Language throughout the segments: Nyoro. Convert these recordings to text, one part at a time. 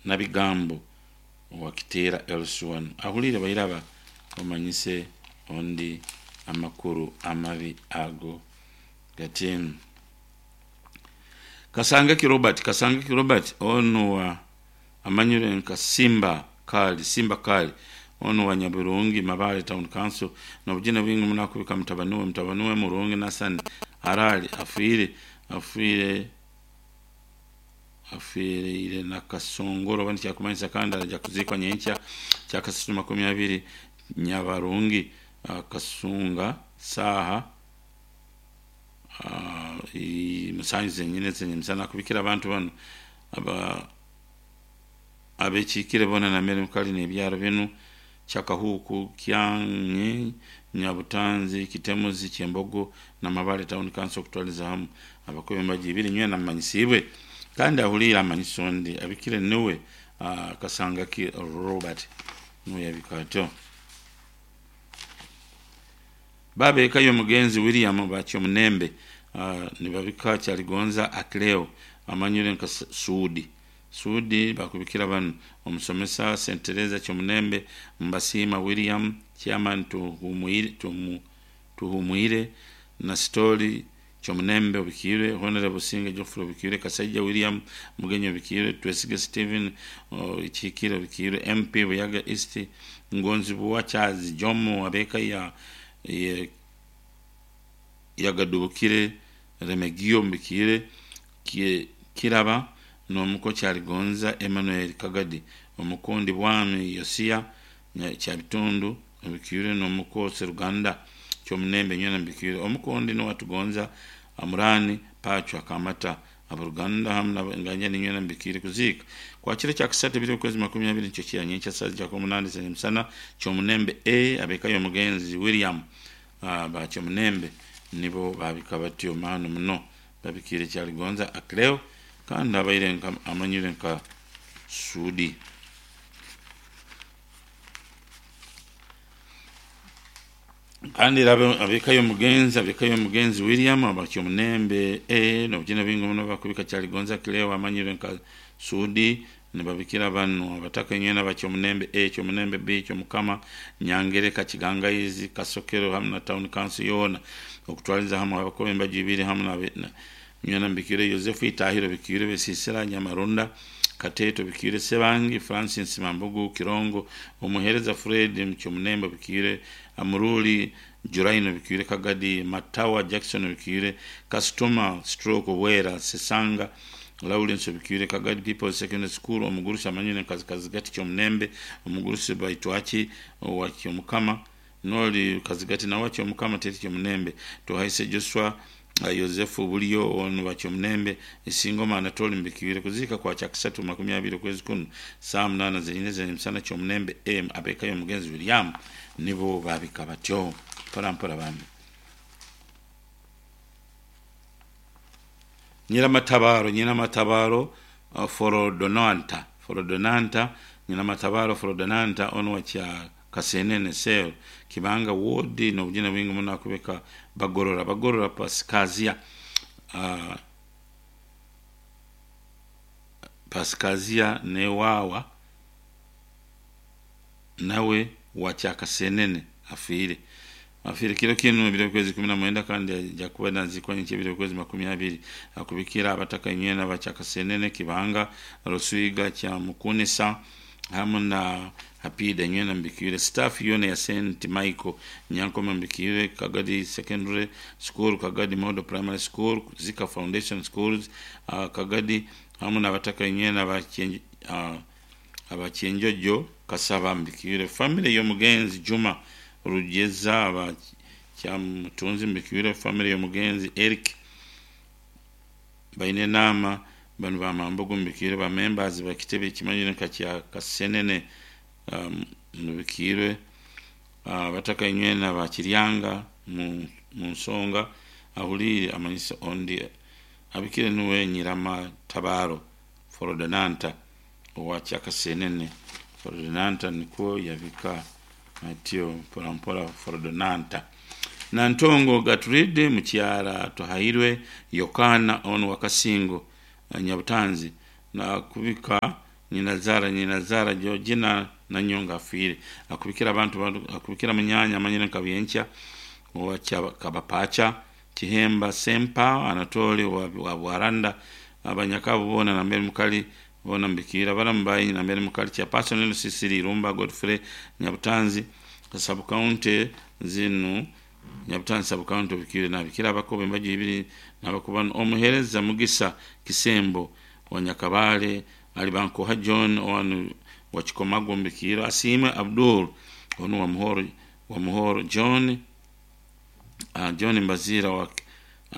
Nabigambo owa Kiteera LC1 ahuliire bairaba omanyise ondi amakuru amabi ago gati. Kasangaki Robert, Kasangaki Robert onu wa amanyire nka Simba Kali, Simba Kali onu wa Nyabirungi Mabale Town Council nobujina bwingi muno akubika mutabani we Murungi Nasani arali afiire na Kasongoro oba nikyakumanyisa kandi araja kuziikwa nyenkya kyakasatu 20 Nyabarungi Kasunga saaha 7 zenyini zenyemisana akubikira abantu banu abekiikire boona nambere mukali n'ebyaro binu Kyakahuuku, Kyanyi, Nyabutanzi, Kitemuzi, Kyembogo na Mabale Town Council okutwaliza hamu abakubi embaji ibiri nywena mumanyisiibwe kandi ahuliire amanyisa ondi abikire niwe Kasangaki Robert nuwe yabika atyo. Babeekayo omugenzi William Bakyomunembe nibabika Kyaligonza Akileo amanyire nka Suudi. Suudi bakubikira banu omusomesa Sentereza Kyomunembe Mbasiima William Chairman Tuhumwire na Sitori Kyomunembe obikiirwe Honorable Businge Geoffrey obikiirwe Kasaija William Mugenyi obikiirwe Twesige Stephen Kihikire obikiirwe MP Buyaga East Ngonzibuwa Charles Jomo abeeka ya Yagadubukire Remegio mbikiire Kiraba n'omuko Kyaligonza Emmanuel Kagadi omukundi Bwami Yosia Kyabitundu obikiirwe n'omuko Seruganda Kyomunembe nywena mbikiirwe omukundi Nuwatugonza Amurani Pachwa Kamata abaruganda hamu nabanganya nywena mbikiire kuziika kwakiro kyakasatu ebiro okwezi 20 nikyo kira nyenkya saa 8 zenyemisana Kyomunembe A abekayo omugenzi William Bakyomunembe nibo babika batyo maanu muno babikiire Kyaligonza Akileo kandi abaire amanyire nka Suudi. Kandi abekayo omugenzi William Abakyomunembe A nobujina bwingi muno bakubika Kyaligonza Akileo amanyire nka Suudi nibabikira banu abataka nywena Bakyomunembe A, Kyomunembe B, Kyomukama, Nyangereka, Kigangaizi, Kasokero hamu na Town Council yoona okutwaliza hamu abakuba embaji ibiri hamu na nywena mbikiire Yosefu Itahiro bikiire Besisira Nyamarunda Kateto bikiire Sebangi Francis Mambugu Kirongo omuhereza Fred Kyomunembe bikiire Amuruli Juraino bikiire Kagadi Matawa Jackson bikiire Customer Stroke Bwera Sesanga Lawrence bikiire Kagadi People's Secondary School omugurusi amanyire nka Kazigati Kyomunembe omugurusi Baitwaki owa Kyomukama noli Kazigati nawe Kyomukama teri Kyomunembe Tuhaise Joshua Yosefu Bulyo onu Bakyomunembe Isingoma Anatoli mbikiire kuziika kwa kyakasatu 20 okwezi kuno saa 8 zenyine zenyemisana Kyomunembe M abekayo omugenzi William nibo babika batyo mpora mpora bambi. Nyiramatabaro Forodonanta Nyiramatabaro Forodonanta onu wa kya Kasenene Sel Kibanga Ward nobujina bwingi muno akubeka Bagorora Paskazia Paskazia newawa nawe wa kya Kasenene afiire kiro kinu ebiro kwezi 19 kandi aja kuba nazikwa nyenkya ebiro kwezi 20 akubikira abataka nywena bakya Kasenene Kibanga Ruswiga kya Mukunisa hamu na Hapida nywena mbikiire staff yona ya St Michael Nyankoma mbikiire Kagadi Secondary School, Kagadi Model Primary School, Zika Foundation Schools, Kagadi hamu n'abataka nywena abakyenjojo Kasaba mbikiire family y'omugenzi Juma Rugeza abakyamutunzi mbikiire family y'omugenzi Eric baine nama banu bamambogo mbikiire ba members bakitebe kimanyire nka kya Kasenene mbikiire abataka nywena bakiryanga mu nsonga ahuliire amanyisa ondi abikire nuwe Nyiramatabaro Forodonanta owa Kyakasenene. Forodonanta nikwo yabika atyo mpora mpora Forodonanta. Nantongo Gatride mukyara Tuhairwe Yokana onu Wakasingo Nyabutanzi na kubika Nyinazara Georgina Nanyonga afiire. Akubikira abantu, akubikira munyanya amanyire nka Byenkya owa Kabapacha Kihemba Sempa Anatoli wa Bwaranda, abanyakabu boona nambere mukali boona mbikira abaramu bayi nambere mukali chairperson LCC Irumba Godfrey Nyabutanzi sub county zinu Nyabutanzi sub county bikire nabikira abakobe embaju ibiri nabakubano omuhereza Mugisa Kisembo wa Nyakabale Alibankoha John wanu wa Chikomago mbikira Asime Abdul onu wa Muhoro John John Mbazira wa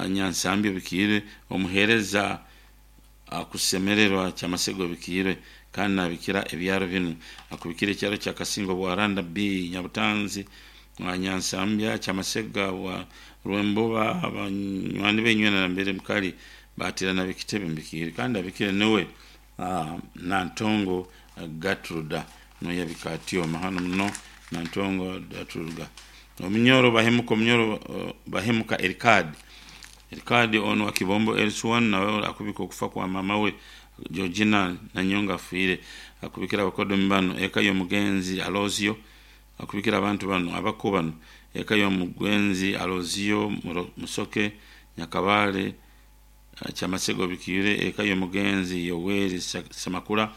Nyansambi bikire omuhereza akusemererwa Kyamasego bikire kandi nabikira ebyaro binu akubikira ekyaro kya Kasingo Bwaranda B Nyabutanzi wa Nyansambya Kyamasega wa Rwemboba abanywani benywena nambere mukali batirana bikitebe mbikire kandi abikire niwe Nantongo Gatruda noyabikatio mahano muno Nantongo Gatruda omunyoro bahemuka omunyoro bahemuka Erikadi ono wa Kibombo L1 nawe akubika okufa kwa mama we Georgina Nanyonga afiire. Akubikira abakodomi bano eka y'omugenzi Alozio, akubikira abantu bano abako bano eka y'omugenzi Alozio Musoke Nyakabale Kyamasego bikire eka y'omugenzi Yoweri Semakula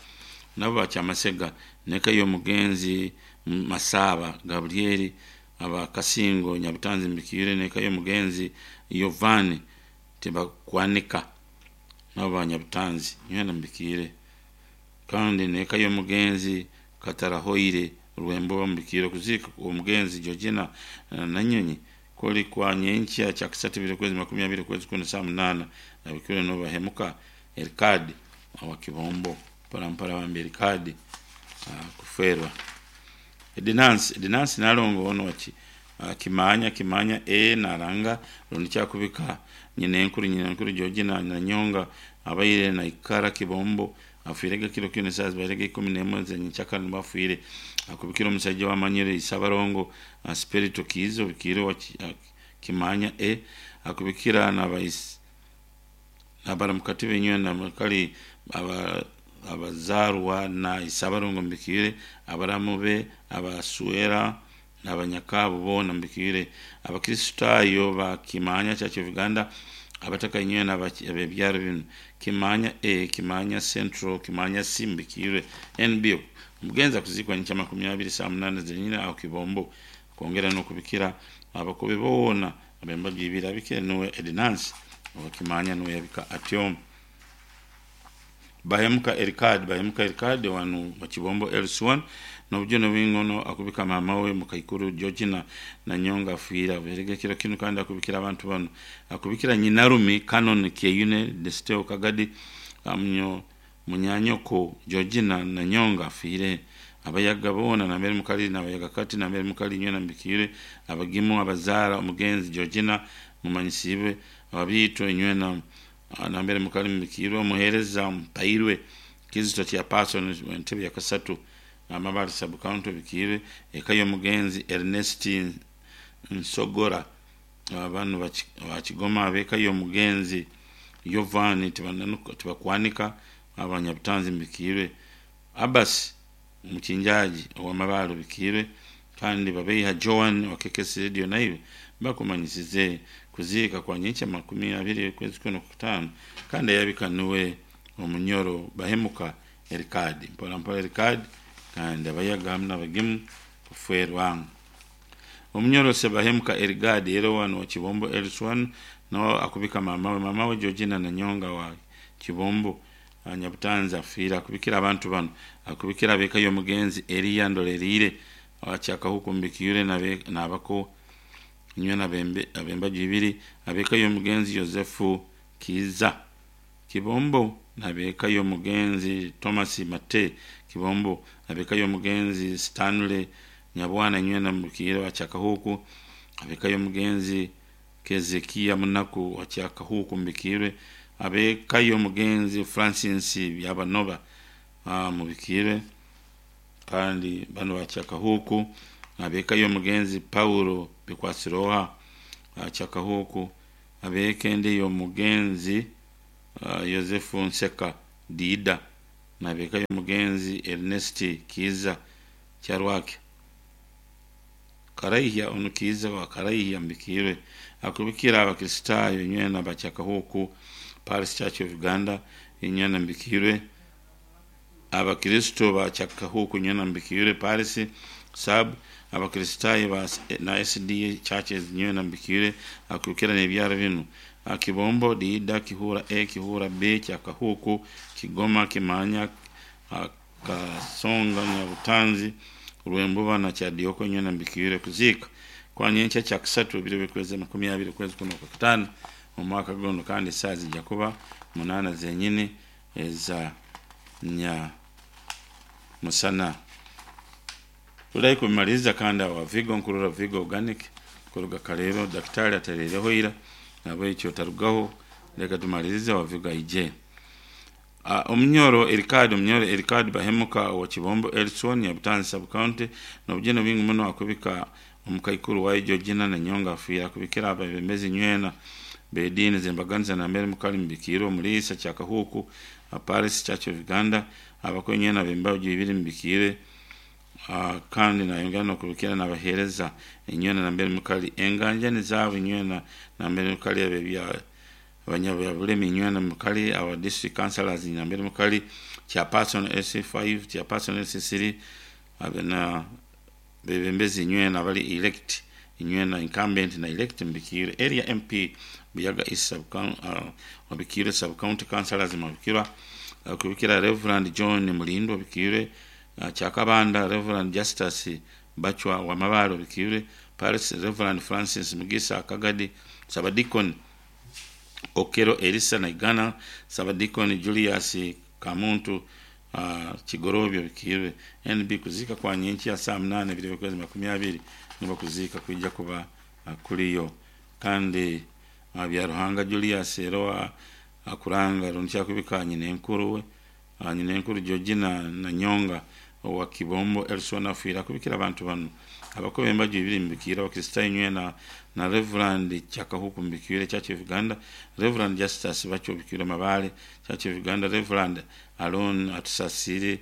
nabo bakyamasega neka y'omugenzi Masaba Gabrieli abakasingo Nyabutanzi mbikire neka y'omugenzi Yovani Tebakwanika nabo banyabutanzi nywena mbikire kandi neka y'omugenzi Katarahoire Rwembo mbikire kuzika omugenzi Georgina Nanyonyi koli kwa nyenkya kya kisatu bibiri kwezi 20 kwezi kumi saa 8 nabikire no bahemuka Erikadi wa Kibombo mpora bambi Erikadi kuferwa Edinansi nalongo ono waki kimanya e naranga rundi kyakubika nyine Georgina Nanyonga abaire na ikara Kibombo afirega kilo kino saa barega 11 zenye bafire akubikira omusajja wamanyire Isabarongo Spirito Kizo bikiro kimanya e akubikira nabais nabaramukati benywe na makali abazarwa na Isabarongo mbikire abaramu be abasuera n'abanyakabo bona mbikire abakristayo ba Kimanya Church of Uganda abataka inywe n'abebyaro bino Kimanya A, Kimanya Central, Kimanya C mbikire NB mugenza kuzikwa ncha 20 saa 8 zenyina au Kibombo kwongera no kubikira abakobe bona abembaji ibiri abikire nuwe Edinance wa Kimanya nuwe yabika atiom Bahemuka Erikadi wanu wa Kibombo L1 nobujo bingono akubika mama we mukaikuru Georgina Nanyonga afiira berege kiro kino kandi akubikira abantu bano akubikira nyinarumi Canon Keyune Desteo Kagadi amnyo munyanyoko Georgina Nanyonga afiire abayaga bona nambere mukali nabayaga kati nambere mukali nywe nambikire abagimu abazara omugenzi Georgina mumanyisibe ababito nywe na nambere mukali mbikirwe omuhereza mpairwe Kizito kya person entebe ya kasatu amabali sub county bikire eka y'omugenzi Ernest Nsogora abantu bakigoma abeka y'omugenzi Yovani tibakwanika abanyabutanzi mbikire Abbas omukinjaji owamabalo bikire kandi babeiha Joan wa KKS Radio naiwe bakumanyisize kuziika kwa nyicha 20 kwezi 15 kandi yabika nuwe omunyoro bahemuka Erikadi mpora mpora Erikadi kandi abayaga hamwe n'abagimu kuferwa omunyoro se bahemuka Erigadi ero wano wa Kibombo L1 no akubika mama we Georgina Nanyonga wa Kibombo Nyabutanzi afiira akubikira abantu bano akubikira abeka y'omugenzi Eliya Ndolerire abakyaka huku mbikire nabako nywe nabembe abembaji ibiri abeka y'omugenzi Yosefu Kiza Kibombo nabeka y'omugenzi Thomas Mate Kibombo abeka y'omugenzi Stanley Nyabwana nywe nambukire abakyaka huku abeka y'omugenzi Kezekia Munaku akyaka huku mbikire abeka y'omugenzi Francis Byabanoba mubikire kandi bano bakyaka huku abeka y'omugenzi Paulo Bikwasiroha akyaka huku abekende y'omugenzi Yosefu Nseka Dida Nabeka y'omugenzi Ernest Kiiza Kyarwake Karaihya, onu Kiiza wa Karaihya mbikirwe. Akubikira Abakristaayo inywena bakyakahuku Parish Church of Uganda inywena mbikirwe. Abakristo bakyakahuku inywena mbikirwe Parish sub Abakristaayo ba na SDA churches inywena mbikirwe. Akubikira n'ebyaro binu: Kibombo, Diida, Kihura A, Kihura B, Kyakahuku, Kigoma, Kimanya, Kasonga, Nyabutanzi, Rwembuba na Kyadioko inywena mbikirwe. Kuziika kwa nyenkya kyakusatu, ebiro by'okwezi 20 okwezi kuno kwa kataano omu mwaka guno, kandi esaaha zijja kuba 8 zenyini eza nya musana. Turahi kubimaliriza kandi awa Vigo nkurora Vigo Organic kuruga Kaleero, daktari atereireho ira, nabwekyo otarugaho, leka tumalirize wa Vigo aije. Omunyoro Erikadi, omunyoro Erikadi Bahemuka owa Kibombo Elson, Nyabutanzi sub county, n'obugeni bwingi muno akubika omukaikuru wayo Georgina Nanyonga afiire. Akubikira abebembezi nywena b'ediini z'embaganiza nambere mukali mubikiirwe. Omuliisa Kyakahuku Paris Church of Uganda, abakuru nywena b'embaju ibiri mubikiire. Kandi nayongera n'okubikira n'abaheereza inywena nambere mukali, enganjani zaabo inywena nambere mukali, ab'ebya abanyabyabulemi inywena mukali, aba district councillors nambere mukali, chairperson LC5, chairperson LC3, na bebembezi inywena abali elect inywena, incumbent na elect mubikirwe. Area MP Buyaga East sub wabikirwe, sub county councillors mubikirwa. Kubikira Reverend John Mulindo obikirwe, Kyakabanda Reverend Justus Bachwa wa Mabale obikirwe, Paris Reverend Francis Mugisa Kagadi, Sabadikon Okero Elisa Naigana, Sabadikon Julius Kamuntu Kigorobyo bikirwe. NB kuzika kwa nyenki ya saa 8 ebiro by'okwezi 20 nibo kuziika kwijja kuba kuliyo. Kandi Byaruhanga Julius era akuranga rundi akubika nyina enkuru we, nyina enkuru Georgina Nanyonga owa Kibombo Elson afiire. Akubikira abantu banu: abakuba embaju ibiri mubikire, Abakristaayo nywena na Reverend Kyakahuku mubikire Church of Uganda, Reverend Justus Bakyo bikire Mabale Church of Uganda, Reverend Alon Atusasire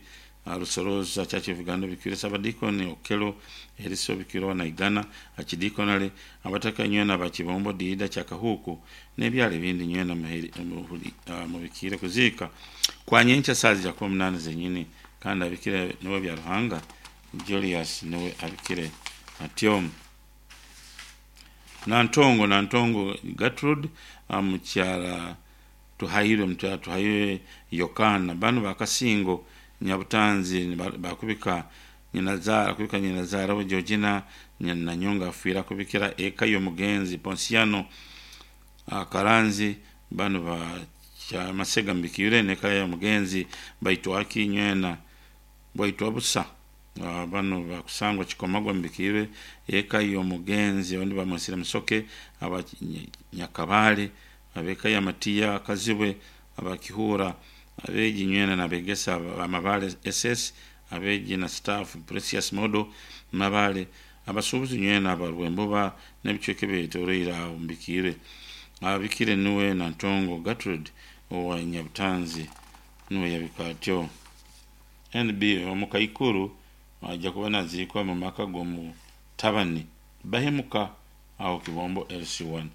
Rusoroza Church of Uganda bikire, Sabadikoni Okelo Eriso bikire Naigana Achidikonale, abataka nywena bakibombo, Diida, Kyakahuku n'ebyalo ebindi nywena mubikire. Kuziika kwa nyenkya saa zijja kuba 8 zenyini, kandi abikire niwe Byaruhanga Julius niwe abikire atyo. Nantongo, Nantongo Gertrude, mukyala Tuhairwe, mukyala Tuhairwe Yokana, banu bakasingo Nyabutanzi, bakubika nyinazaara, akubika nyinazaara we Georgina Nanyonga afiire. Akubikira eka y'omugenzi Ponsiano Karanzi, banu ba Kyamasega mbikire, neka y'omugenzi Baitwaki nywena Bwaitwa busa, bano bakusangwa Kikomagwa mbikire, eka y'omugenzi abandi bamwesire Musoke aba Nyakabale, abeka ya Matiya Kazibwe abakihura, abeegi nywena nabegesa Amabale SS, abeegi na staff Precious Modo Mabale, abasuubuzi nywena abarwembuba n'ebicweka ebyetoroire aho mbikire. Abikire niwe Nantongo Gertrude owa Nyabutanzi, niwe yabika atyo. NB omukaikuru ajja kuba naziikwa mu maka g'omutabani Bahemuka aho Kibombo LC1.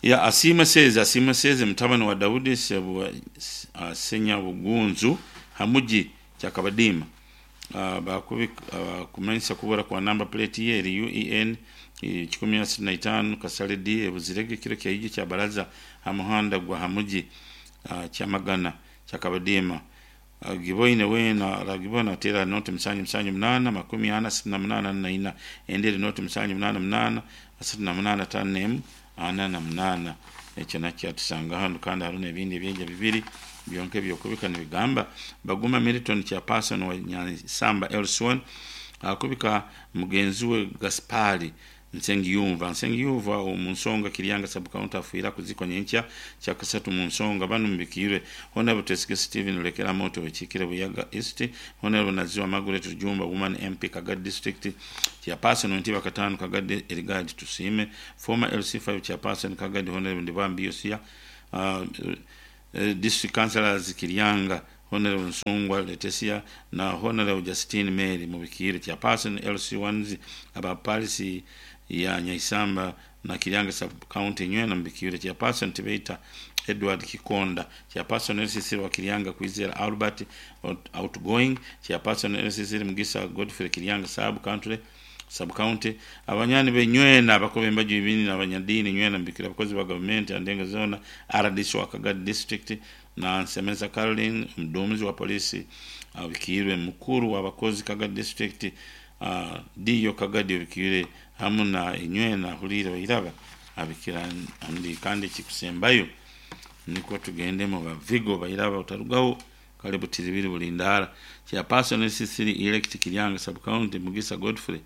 Ya Asiima Seze, Asiima Seze mutabani wa Daudi Senyabugunzu Hamuji Kyakabadiima, bakumanyisa kubura kwa namba plate ye eri UEN 165 Kasale D ebuzirege kiro kyaije kya baraza ha muhanda gwa Hamuji Kyamagana Kyakabadiima. Giboine wena ragibona atera noti 7 7 8 40 68 4, endere noti 7 8 8 68 5 4 8. Ekyo nakyo atusanga hano, kandi hariho n'ebindi ebyenja bibiri byonka ebyokubika nibigamba: Baguma Milton chairperson wa Nyansamba Elson akubika mugenzi we Gaspari Nsengiyumva, Nsengiyumva omu nsonga Kiryanga sub county afiire. Kuzikwa nyenkya kyakasatu mu nsonga. Banu mubikirwe: Honorable Twesige Stephen Lekera Moto Wekikire Buyaga East, Honorable Naziwa Margaret Rujumba woman MP Kagadi district, chairperson Ntiba Katano Kagadi Erigadi Tusime, former LC5 chairperson Kagadi Honorable Ndibambi Yosia, district councillors Kiryanga. Honorable Nsungwa Letesia na Honorable Justine Mary Mubikire, chairperson LC1 aba Paris ya Nyaisamba na Kiryanga sub county nywena Mubikire, chairperson Tibeita Edward Kikonda, chairperson LCC wa Kiryanga Kwizera Albert outgoing chairperson LCC Mugisa Godfrey Kiryanga sub country sub county, abanyani benywena abakobe embaju ibini n'abanyadini nywena mbikira, abakozi ba gavumenti andenga zona, RDC wa Kagadi district na Nsemeza Caroline mdumizi wa polisi abikirwe, mukuru w'abakozi Kagadi district, diyo Kagadi abikirwe hamu na inywena hulire bairaba abikira andi. Kandi kikusembayo niko tugende mu bavigo bairaba utarugaho kale butiribiri bulindara, chairperson SCC elect Kiryanga sub county Mugisa Godfrey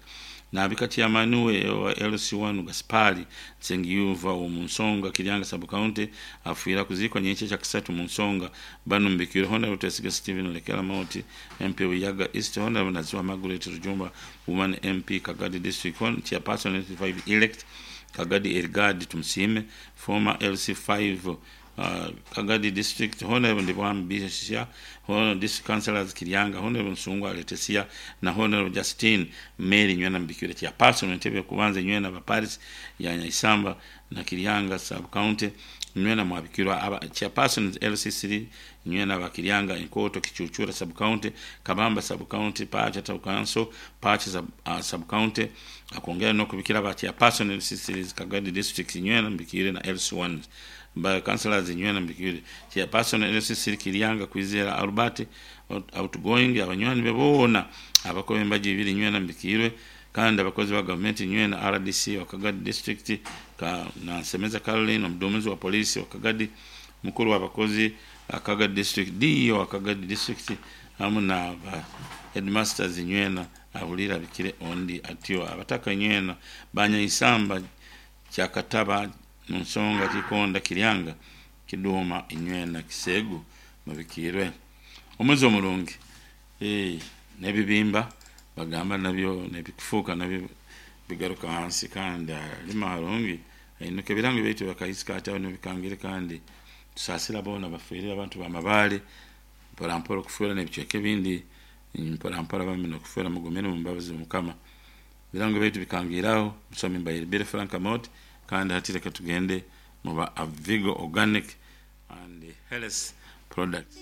nabika chairman we wa LC1 Gaspari Nsengiyuva mu nsonga Kiryanga sub county afuira kuzikwa nyeche cha kisatu mu nsonga. Bano mbikire Honorable Twesiga Steven Lekela Mauti MP Uyaga East, Honorable Naziwa Margaret Rujumba Woman MP Kagadi district, chairperson LC5 elect Kagadi Ergad Tumsime former LC5 Kagadi district, Honorable Ndibwam Bisha, Honorable district councillors Kiryanga, Honorable Nsungwa Letesia na Honorable Justine Mary nywena mbikire, chairperson entebe kubanza nywena ba Paris ya Nyaisamba na Kiryanga sub county nywena mwabikirwa, aba chairperson LC3 nywena ba Kiryanga Enkoto Kichuchura sub county, Kabamba sub county, Pacha town council, Pacha sub county, akongera no kubikira ba chairperson LC3 Kagadi district nywena mbikire na LC1 ba councillors nywena mbikire, chairperson LC3 Kiryanga Kwizera Albert outgoing, abanywani bebona abakobe embaji ibiri nywena mbikirwe, kandi abakozi ba gavumenti nywena, RDC wa Kagadi district ka na Nsemeza Caroline omuduumizi wa polisi wa Kagadi, mukuru w'abakozi Kagadi district, DO wa Kagadi district hamu na ba headmasters nywena ahulira bikire ondi atyo, abataka nywena banyaisamba kyakataba mu nsonga Kikonda Kiryanga Kiduma inywena Kisegu mubikirwe omuzi omurungi. N'ebibimba bagamba nabyo nebikufuuka nabyo bigaruka hansi, kandi alima harungi ainuka ebirango byaitu bakaisika ati aho nibikangire. Kandi tusaasira boona bafiirire abantu bamabale mporampora okufuura n'ebicweka ebindi mporampora bamwe n'okufuura. Mugumire mu mbabazi Mukama. Birango byaitu bikangiraho musomi mbayiribire Frank Amot. Kandi hati reka tugende mu ba Avigo Organic and Health Products.